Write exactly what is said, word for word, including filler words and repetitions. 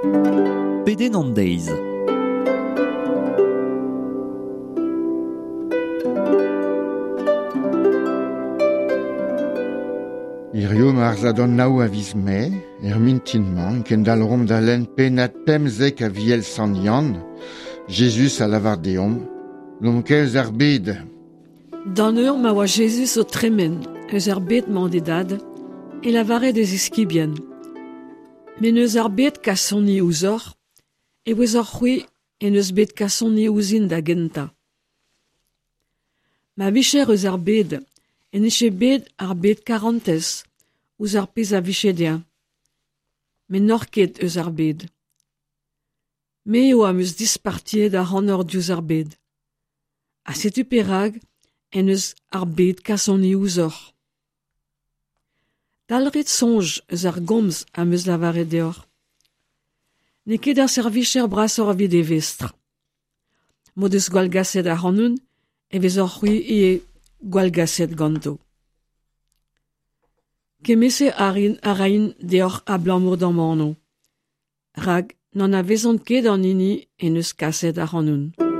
Pedenn an deiz. Hirio marzad an nao a viz Mae, er mintin-mañ, kendalc'homp da lenn pennad pemzek Aviel Sant Yann, Jezuz a lavar deomp, n'omp ket eus ar bed. D'an eur ma oa Jezuz o tremen eus ar bed-mañ d'e dad, e lavare d'e ziskibien. Met n'eus ar bed kasoni ouzhoc'h, e ouezoc'h c'hwi en eus bet kasoni ouzhin da gentañ. Ma vije eus ar bed, en dije bet ar bed karantez ouzh ar pezh a vije dezhañ. Met n'oc'h ket eus ar bed. Me eo am eus dispartiet ac'hanoc'h diouzh ar bed. Ha setu perak en deus ar bed kasoni ouzhoc'h. Dalc'hit soñj eus ar gomz am eus lavaret deoc'h. N'eo ket ar servijer brasoc'h evit e vestr. M'o deus gwallgaset ac'hanon e vezoc'h c'hwi ivez gwallgaset ganto. Kement-se a rin a raint deoc'h abalamour d'am anv. Rak n'anavezont ket an hini en deus kaset ac'hanon.